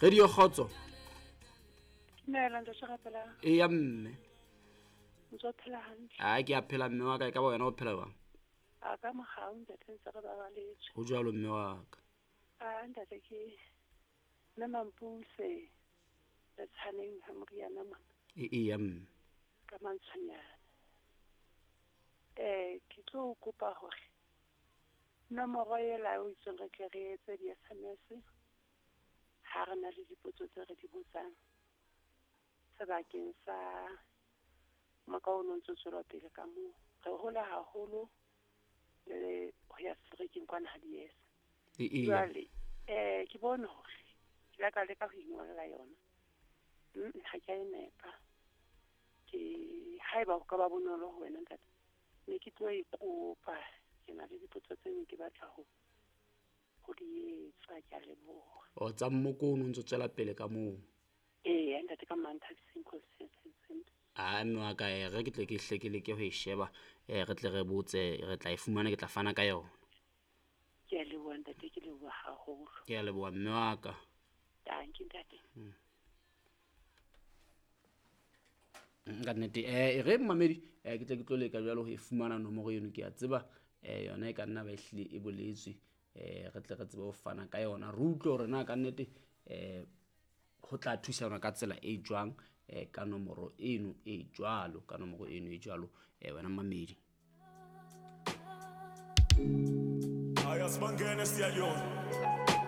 Radio Kgotso. Dumela ntate Rapelang. Eya mme. Ntse o phela hantle. A ke a phela mme wa ka, e ka ba wena o phela jwang? A ka mogau ntate ntse re babaletswe. Ho jwalo mme wa ka. A ntate ke mme Mampuse le tshaneng ha moriana mona. E eya mme. Ka mantshonyana. Ke tlo kopa hore nomoro ela o itseng re tle re etse di-SMS ha re na le dipotso tse re di botsang sebakeng sa moka o no ntso tswela pele ka moo. Re hola haholo le ho ya seterekeng kwana ha di-yes. E eya. Jwale ke bone hore ke la ka leka ho ingolla yona. Ha ke a e nepa. Ke haeba ho ka ba bonolo ho wena ntate, ne ke tlo e kopa. Ke na le dipotso tse ne ke batla ho di etsa, ke a leboha. O tsa mmoko o no ntso tswela pele ka moo. Ee, ntate ka Manthabiseng constituency. A mme wa ka, re ke tle ke hle ke leke ho e sheba, re tle re botse, re tla e fumana, ke tla fana ka yona. Ke a leboha ntate, ke leboha haholo. Ke a leboha mme wa ka. Dankie ntate. Ka nnete, e re mmamedi, ke tle ke tlo leka jwalo ho e fumana nomoro eno, ke a tseba, yona e ka nna ba e hlile e boletswe, re tle re tsebe ho fana ka yona. Re utlwe hore na ka nnete, ho tla thusana ka tsela e jwang, ka nomoro eno e jwalo, ka nomoro eno e jwalo, wena mmamedi. Hayi asibangene siyayona.